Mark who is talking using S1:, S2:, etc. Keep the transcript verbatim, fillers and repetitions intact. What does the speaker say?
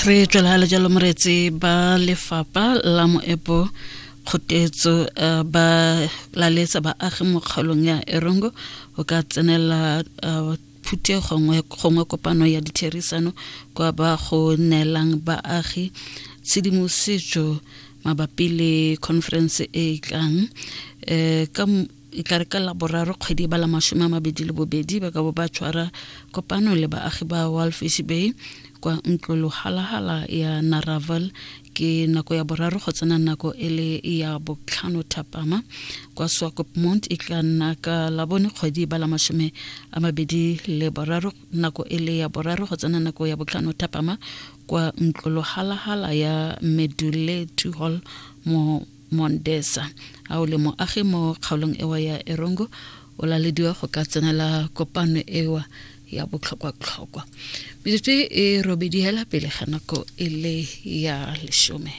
S1: Re tswela jalo moreetsi. Ba lefapha la moepo kgotetso uh, ba laletsa baagi mo kgaolong ya Erongo go ka tsenela uh, phuthego gongwe kopano ya ditherisano kwa ba go neelang baagi tshedimosetso mabapi le conference e e tlang um ka e tla re ka Laboraro, kgwedi ba la mashome a mabedi le bobedi, ba ka bo ba tshwara kopano le baagi ba Walvis Bay kwa ntlo lohalahala ya Naraval, ke nako ya boraro go tsena nako e le ya botlhano thapama. Kwa Swakopmund e tla nna ka Labone, kgwedi ba la mashome a mabedi le boraro, nako e le ya boraro go tsena nako ya botlhano thapama kwa ntlo lohalahala ya Meduletu Hall mo Mondesa. A o le moagi mo kgaolong ewa ya Erongo, o lalediwa go ka tsenela kopano ewa ya botlhokwa-tlhokwa. Metsotso e robedi hela pele ga nako e le ya lesome.